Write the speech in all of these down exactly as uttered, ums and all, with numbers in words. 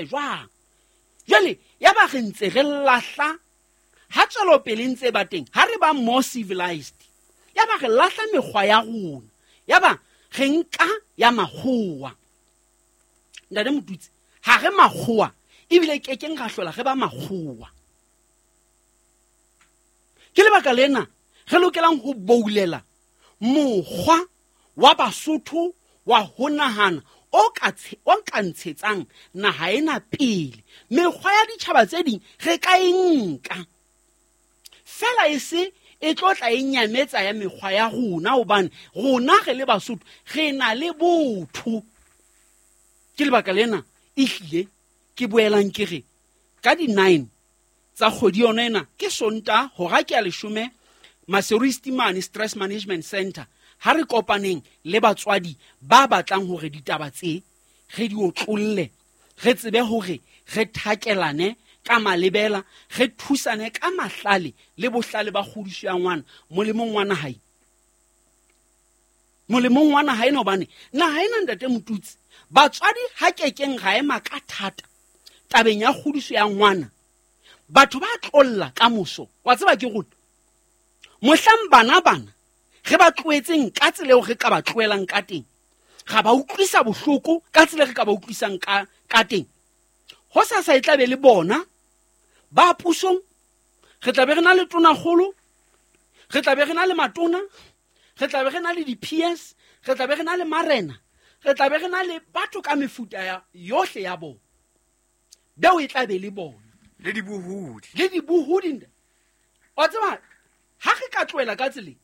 Jwang jwale ya ba re ntse re lahla ha tswelopele ntse ba teng, ha re ba more civilized, ya ba re lahla mekgwa ya rona, ya ba re nka ya makgowa. Ntate Motutsi, ha re makgowa ebile kekeng ra hlola re ba makgowa. Ke lebaka lena re lokelang ho boulela mokgwa wa Basotho wa ho nahana o ka o ka ntshetsang naha ena pele. Mekgwa ya ditjhaba tse ding re ka e nka fela, e se e tlo tla e nyametsa ya mekgwa ya rona, hobane rona re le Basotho re na le botho. Ke lebaka lena ehlile ke boelang ke re ka di-nine tsa kgwedi yona ena, ke Sontaha, hora ke ya leshome, Maseru East mane Stress Management Center, ha re kopaneng le batswadi ba batlang hore ditaba tse re di otlolle, re tsebe hore re thakelane ka malebela, re thusane ka mahlale le bohlale ba kgodiso ya ngwana molemong wa naha ena. Molemong wa naha ena, hobane naha ena, ntate Motutsi, batswadi ha kekeng ra ema ka thata tabeng ya kgodiso ya ngwana, batho ba tlolla ka moso. Wa tseba ke rona mohlang bana bana re ba tlohetseng ka tsela eo re ka ba tlohelang ka teng, ra ba utlwisa bohloko ka tsela re ka ba utlwisang ka ka teng. Ho sasa e tla be le bona ba pusong, re tla be re na le tonakgolo, re tla be re na le matona, re tla be re na le di-P S, re tla be re na le marena, re tla be re na le batho ka mefuta ya yohle ya bona. Beo e tla be le bona. Le dibohodi. Le dibohodi. Wa tseba, ha re ka tlohela ka tseleng,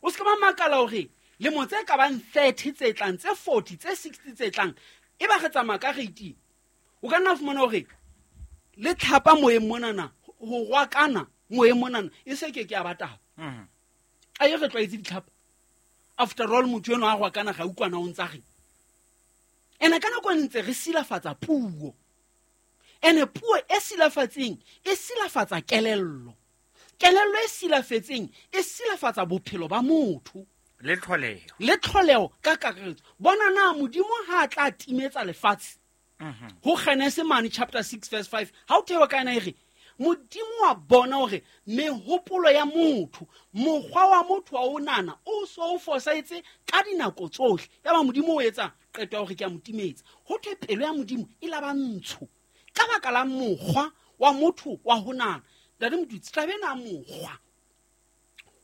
o se ka ba makala hore lemo tse ka bang thirty tse tlang, tse forty, tse sixty tse tlang, e ba re tsamaya ka rate, o ka nna fumana hore le tlhapa moyeng monana, ho rwakana moyeng monana, e se ke ke ya ba taba. Mm. A ye re tlwaetse ditlhapa. After all, motho enwa a rwakana ga utlwana o ntsa reng. Ene ka nako e ntse re silafatsa puo. Ene puo e silafatseng e silafatsa kelello. Kelello e silafetseng e silafatsa bophelo ba motho. Le tlholeho. Le tlholeho ka kakaretso. Bona na Modimo ha a tla timetsa lefatshe. Mhm. Ho Genese mane chapter six verse five, ha o thewa ka ena e re, Modimo wa bona hore mehopolo ya motho, mokgwa wa motho wa o nana o so o fosahetse ka dinako tsohle. Ya ba Modimo o etsa qeto ya hore ke a mo timetsa. Ho thwe pelo ya Modimo e la ba ntsho ka baka la mokgwa wa motho wa ho nahana. Ntate Motutsi, taba ena ya mokgwa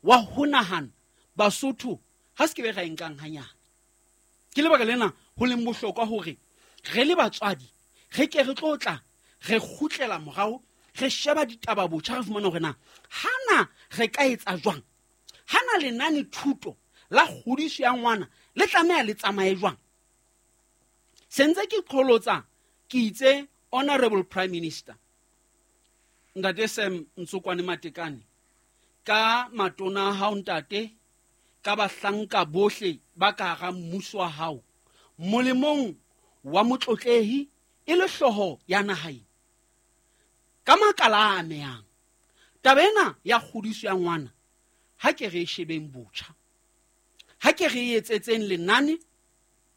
wa ho nahana Basotho ha se ke be ra e nkang hanyane. Ke lebaka lena ho leng bohlokwa hore re le batswadi re ke re tlo tla re kgutlela morao, re sheba ditaba botjha, re fumana hore na hana re ka etsa jwang, hana lenane thuto la kgodiso ya ngwana le tlameha le tsamaye jwang. Se ntse ke qholotsa, ke itse Honorable Prime Minister Ntate Sam Ntsokwane Matekane, ka matona a hao ntate, ka bahlanka bohle ba ka hara mmuso wa hao, molemong wa motlotlehi e le hlooho ya naha ena, ka makala a amehang, taba ena ya kgodiso ya ngwana ha ke re e shebeng botjha, ha ke re e etsetseng lenane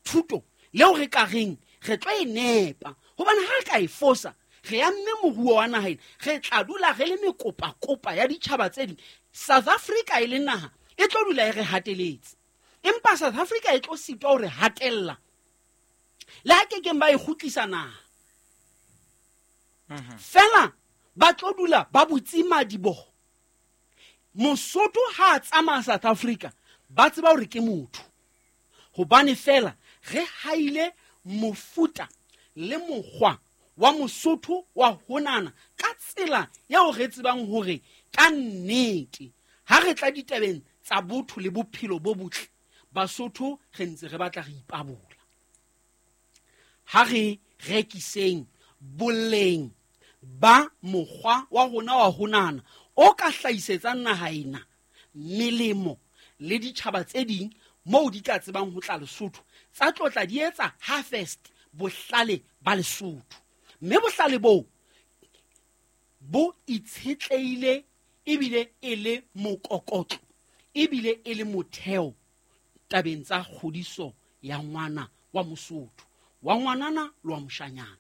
thuto leo re ka reng re tlo e nepa, hobane ha re ka e fosa re amme moruo wa naha ena, re tla dula re le mekopakopa ya ditjhaba tse ding. South Africa e le naha e tlo dula e re hateletse, empa South Africa e tlo sitwa ho re hatella le ha kekeng ba e kgutlisa naha. Mhm. Fela ba tlo dula ba butse madiboho. Mosotho ha a tsamaya South Africa ba tseba hore ke motho, hobane fela re haile mofuta le mokgwa wa Mosotho wa ho nahana ka tsela eo re tsebang hore ka nnete ha re tla ditabeng tsa botho le bophelo bo botle, Basotho re ntse re batla re ipabola. Ha re rekiseng boleng ba mokgwa wa rona wa ho nahana o ka hlahisetsang naha ena melemo le ditjhaba tse ding moo di tla tsebang ho tla Lesotho, tsa tlotla di etsa harvest bohlale ba Lesotho. Mme bohlale boo bo itshetlehile ebile e le mokokotlo, ebile e le motheo tabeng tsa kgodiso ya ngwana wa Mosotho, wa ngwanana le wa moshanyana.